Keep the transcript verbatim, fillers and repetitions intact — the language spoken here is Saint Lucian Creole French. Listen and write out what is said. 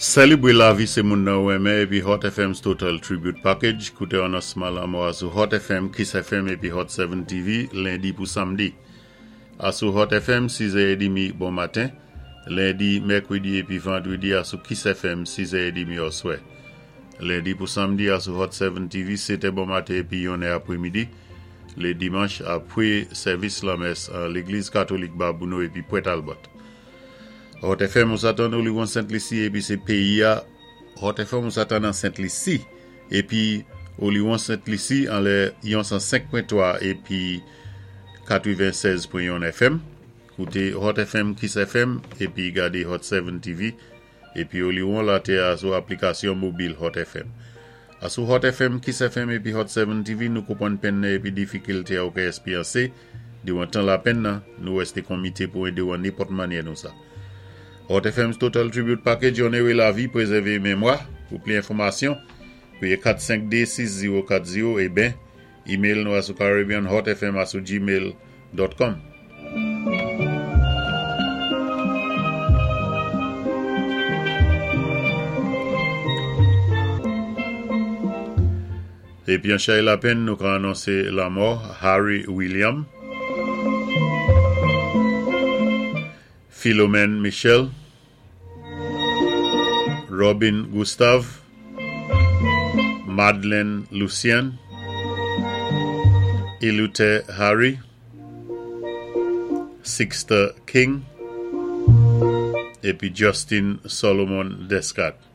Sélébwé lavi sé moun nan ou renmen épi Hot FM's Total Tribute Package. Kouté anonsman lanmò a sou Hot FM, Kiss FM épi Hot seven TV lendi pou samdi. Asou Hot FM sis è dmi bon maten, lendi, mèkwédi épi vandwédi asou Kiss FM sis è dmi oswè. Lendi pou samdi asou Hot seven TV sèt è bon maten épi yon è apwémidi. Lé dimanch apwé sèvis lamès an Légliz Katolik Babonneau épi Pointe Albert. Hot FM ou sa tann Oliwon Sent Lisi épi sé péyi a Hot FM ou sa tann an Sent Lisi épi Oliwon Sent Lisi anlè yon san senk pwen twa épi katwéven-sèz pwen yon FM. Kouté Hot FM, Kiss FM épi gadé Hot seven TV épi Oliwon latè a sou aplikasyon mobil Hot FM. Asou Hot FM, Kiss FM épi Hot seven TV nou konpwann penn nan épi difikilté a ou ka espéryansé diwan tan lapenn nan, nou wésté komité pou édé-ou an nenpòt mannyè nou sa. Hot FM's Total Tribute Package onoré lavi, pwézèvé mémwa. Pou pli enfòmasyon, kwiyé kat senk dé sis zewo kat zewo é ben, email nou asou caribbeanhotfm asou gmail dot com. Épi an chay lapenn, nou ka anonsé lanmò Harry William, Philomène Michel, Robin Gustave, Madeleine Lucien, Elute Harry, Sixter King, épi Justin Solomon Descartes.